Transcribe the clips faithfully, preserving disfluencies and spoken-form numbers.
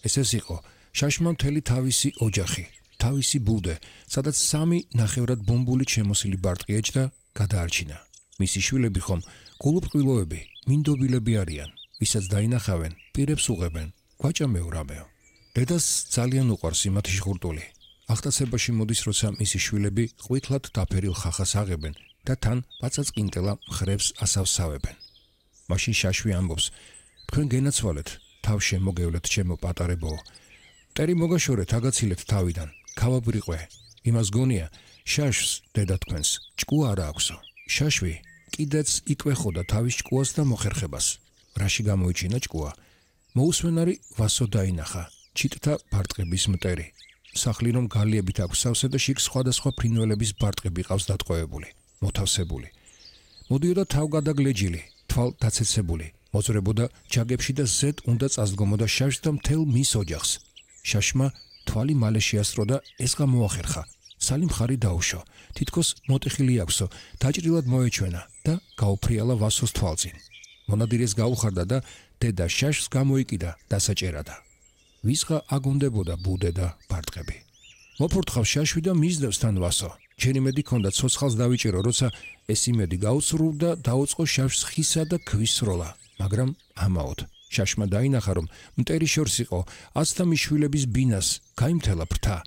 ეს ეს იყო შაშმა მთელი თავისი ოჯახი, თავისი ბუდე, სადაც სამი ნახევრად ბომბულით შემოსილი ბარტყი ეჭდა, გადაარჩინა. მისი შვილები ხომ გულუბრყვილოები, მინდობილები არიან, ვისაც დაინახავენ, პირებს უღებენ, გვაჭამეო რამეო. დედას ძალიან უყვარს იმათი ჟღურტული. აღტაცებაში მოდის, როცა მისი შვილები ყვითლად დაფერილ ხახას აღებენ და თან პაწაწკინტელა მხრებს ასავსავებენ. მაშინ შაშვი ამბობს: თქვენ გენაცვალეთ, თავ შემოგევლეთ ჩემო პატარებოო. მტერი მოგაშორეთ, აგაცილეთ თავიდან, ქავაბრიყვე. იმას გონია, შაშვს დედა თქვენს ჭკუა არა აქვსო. შაშვი კიდეც იკვეხოდა თავის ჭკუას და მოხერხებას. რაში გამოიჩინა ჭკუა? მოусვენარი ვასო დაინახა, ჩიტთა ბარტყების მტერი. სახლი რომ გალიებით აქვს სავსე და შიგ სხვადასხვა ფრინველების ბარტყები ყავს დატყვევებული, მოთავსებული. მოდიოდა თავგადაგლეჯილი, თვალ დაცეცებული, მოძრებოდა ჯაგებში და ზედ უნდა წასდგომოდა შაშს და მთელ მის ოჯახს. შაშმა თვალი მალე შეასწრო და ეს გამოახერხა. სალი მხარი დაუშო, თითქოს მოტეხილი აქვსო, დაჭრილად მოეჩვენა და გაუფრიალა ვასოს თვალწინ. მონადირეს გაუხარდა და დედა შაშს გამოიკიდა დასაჭერადა. ვისღა აგონდებოდა ბუდე და ბარტყები. მოფურთხავ შაშვი და მისდევს თან ვასო. ჩემი მედი ქონდა ცოცხალს დავიჭირო, როცა ეს იმედი გაუცრულ და დაუწყო შაშვს ხისა და ქვის სროლა, მაგრამ ამაოდ. შაშმა დაინახა, რომ მტერი შორს იყო აცთა მიშვილების ბინას, გაიმთელა ფრთა,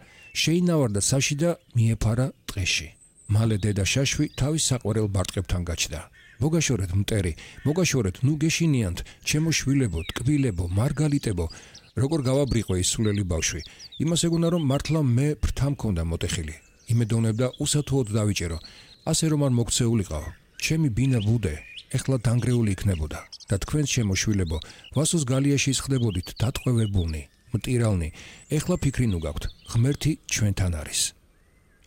შეინავარდა საში და მიეფარა ტყეში. მალე დედა შაშვი თავის საყვარელ ბარტყებთან გაჩნდა. მოგაშორეთ მტერი, მოგაშორეთ, ნუ გეშინიანთ, ჩემო შვილებო, ტკბილებო, მარგალიტებო. როგორ გავაბრიყვე ის სულელი ბავშვი, იმას ეგონა რომ მართლა მე ფრთა მქონდა მოტეხილი. იმედოვნებდა უსათუოდ დავიჭერო, ასე რომ არ მოგცეულიყავ. ჩემი ბინა ბუდე ეხლა დანგრეული იქნებოდა და თქვენ ჩემო შვილებო, ვასოს გალიაში ისხდებოდით დატყვევებულნი, მტირალნი. ეხლა ფიქრი ნუ გაქვთ, ღმერთი ჩვენთან არის.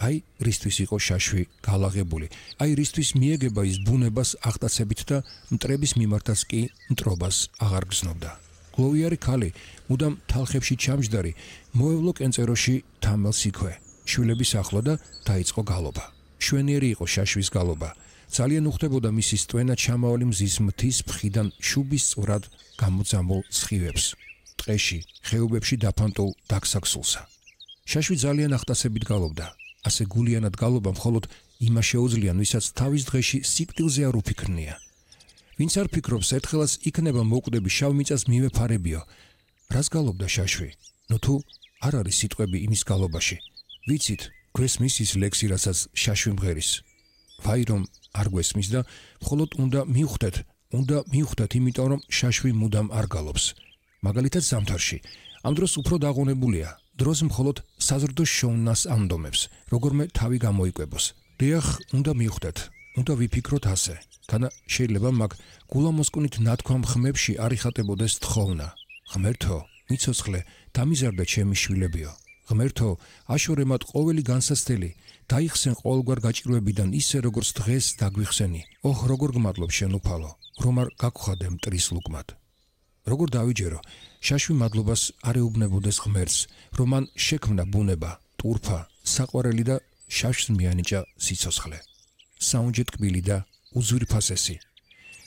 აი რისთვის იყო შაშვი გალაღებული, აი რისთვის მიეგება ის ბუნებას აღტაცებით და მტრების მიმართაც კი მტრობას აღარ გზნობდა. გლოვიარი ქალი, მუდამ თალხებში ჩამჯდარი, მოევლო კენწეროში თამელს იქვე. შვილების ახლო და დაიწყო გალობა. შვენიერი იყო შაშვის გალობა. ძალიან უხდებოდა მისი სტვენა ჩამავალი მზის მთის ფხიდან შუბის წვრად გამოძამულ სხივებს. ტყეში, ხეობებში დაფანტულ დაგსაქსულსა. შაშვი ძალიან აღტაცებით გალობდა. ასე გულიანად გალობა მხოლოდ იმას შეუძლიან, ვისაც თავის დღეში სიკვდილზე არ უფიქრნია. ვინც არ ფიქრობს, ერთხელაც იქნება მოკვდები შავ მიწას მივეფარებიო. რას გალობდა შაშვი? ნუ თუ არ არის სიტყვები იმის გალობაში. ვიცით, გვესმის ის ლექსი, რასაც შაშვი მღერის. ვაი რომ არ გვესმის და მხოლოდ უნდა მივხვდეთ, უნდა მივხვდეთ, იმიტომ რომ შაშვი მუდამ არ გალობს. მაგალითად ზამთარში, ამ დროს უფრო დაღონებულია, დროს მხოლოდ საზრდო შოვნას ამდომებს, როგორმე თავი გამოიკვებოს. დიახ, უნდა მივხვდეთ, უნდა ვიფიქროთ ასე. განა შეიძლება მაგ გულამოსკვნით ნათქვამ ხმებში არ იხატებოდეს თხოვნა. ღმერთო, მიცოცხლე, დამიზარდა ჩემი შვილებიო. ღმერთო, აშორე მათ ყოველი განსაცდელი, დაიხსენ ყოველგვარ გაჭირვებიდან ისე როგორც დღეს დაგვიხსენი. ოჰ, როგორ გმადლობ შენ უფალო, რომ არ გაგხვადე მტრის ლუკმად. როგორ დავიჯერო, შაშვი მადლობას არ ეუბნებოდეს ღმერთს, რომ მან შექმნა ბუნება, ტურფა, საყვარელი და შაშვს მიანიჭა სიცოცხლე. საუნჯე ტკბილი და უზვირფასესი.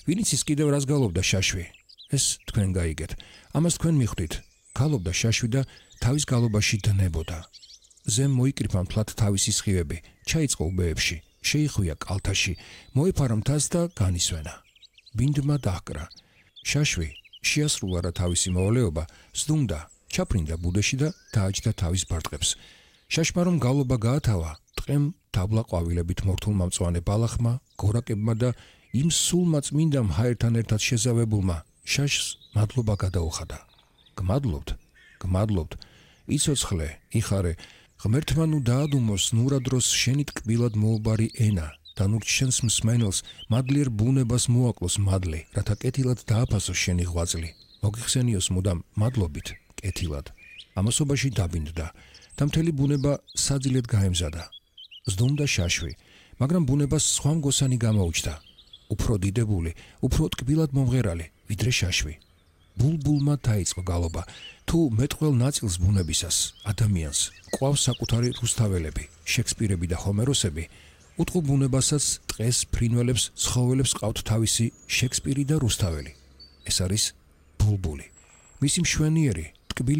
ვინც ის კიდევ რას გალობდა შაშვი? ეს თქვენ გაიგეთ. ამას თქვენ მიხვდით. გალობდა შაშვი და თავის გალობაში დნებოდა. ზემ მოიკრიფა მთლად თავისი სხივები, ჩაიწყო უბეებში, შეიხვია კალთაში, მოეფარა მთას და განისვენა. ბინდმა დაჰკრა. შაშვი შეასრულა რა თავისი მოვალეობა, სდუმდა, ჩაფრინდა ბუდეში და დააჯდა თავის ბარტყებს. შაშმა რომ გალობა გაათავა, ტყემ დაბლა ყვავილებით მორთულმა მწვანე ბალახმა, გორაკებმა და იმ სულმა წმინდამ ჰაერთან ერთად შეზავებულმა შაშს მადლობა გადაუხადა. გმადლობთ, გმადლობთ, იცოცხლე, იხარე, ღმერთმა ნუ დაადუმოს ნურადროს შენი ტკბილად მოუბარი ენა და ნუ შენს მსმენელს მადლიერ ბუნებას მოაკლოს მადლი, რათა კეთილად დააფასოს შენი ღვაწლი. მოგიხსენიოს მუდამ მადლობით, კეთილად. ამასობაში დაბინდდა და მთელი ბუნება საძილედ გაემზადა. ზდუმდა შაშვი, მაგრამ ბუნებას სხვა მგოსანი გამოუჩნდა. უფრო დიდებული, უფრო ტკბილად მომღერალი, ვიდრე შაშვი. ბულბულმა დაიწყო გალობა. თუ მეტყველ ნაწილს ბუნებისას, ადამიანს, ყვავს საკუთარი რუსთაველები, შექსპირები და ჰომეროსები, უტყუ ბუნებასაც ტყეს, ფრინველებს, ცხოველებს ყავთ თავისი შექსპირი და რუსთაველი. ეს არის ბულბული. მისი მშვენიერი, ტკბილი